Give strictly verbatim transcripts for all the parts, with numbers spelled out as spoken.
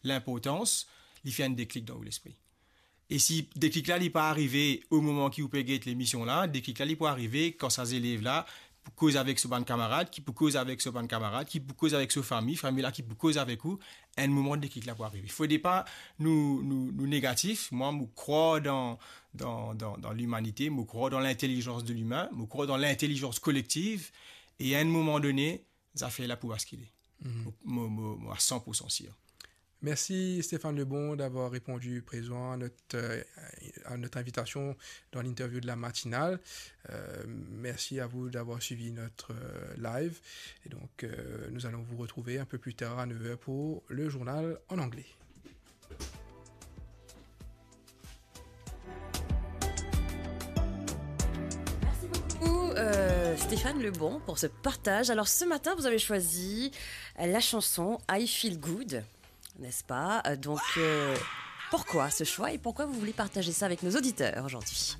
linportans, li fer enn deklik dan ou lespri. E si deklik la, li pa arive o moman ki ou pe get lemision la, deklik la, li pou arive kan sa zelev la pou koz avek so bann kamarad, ki pou koz avek so bann kamarad, ki pou koz avek so fami, fami la ki pou koz avek ou, enn moman deklik la pou arive. Fode pa nou, nou, nou negatif. Mwa, mo krwar dan, dan, dan, dan limanite, mo krwar dan lintelizans de limin, mo krwar dan lintelizans kolektiv, e a enn moman done, zafer la pou baskile. Mhm. Mo, mo, mo, mo a san pour san sir. Merci Stéphane Lebon d'avoir répondu présent à notre, euh, à notre invitation dans l'interview de la matinale. Euh, merci à vous d'avoir suivi notre, euh, live. Et donc, euh, nous allons vous retrouver un peu plus tard à neuf heures pour le journal en anglais. Merci beaucoup, euh, Stéphane Lebon, pour ce partage. Alors, ce matin, vous avez choisi la chanson I Feel Good, n'est-ce pas ? Euh, donc, euh, pourquoi ce choix et pourquoi vous voulez partager ça avec nos auditeurs aujourd'hui ?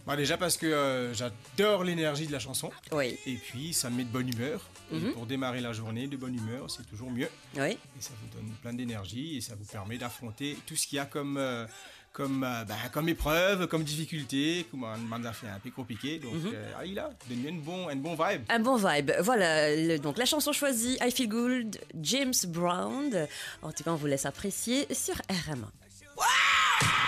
Bah, déjà parce que, euh, j'adore l'énergie de la chanson. Oui. Et puis, ça me met de bonne humeur. Et Mhm. pour démarrer la journée de bonne humeur, c'est toujours mieux. Oui. Et ça vous donne plein d'énergie et ça vous permet d'affronter tout ce qu'il y a comme, euh, comme, euh, ben, comme épreuve, comme difficulté, comme un, un affaire un peu compliqué. Donc, Mhm. euh, allez là, donne-lui une bon, une bon vibe. Un bon vibe. Voilà, le, donc la chanson choisie, I Feel Good, James Brown. En tout cas, on vous laisse apprécier sur R M A.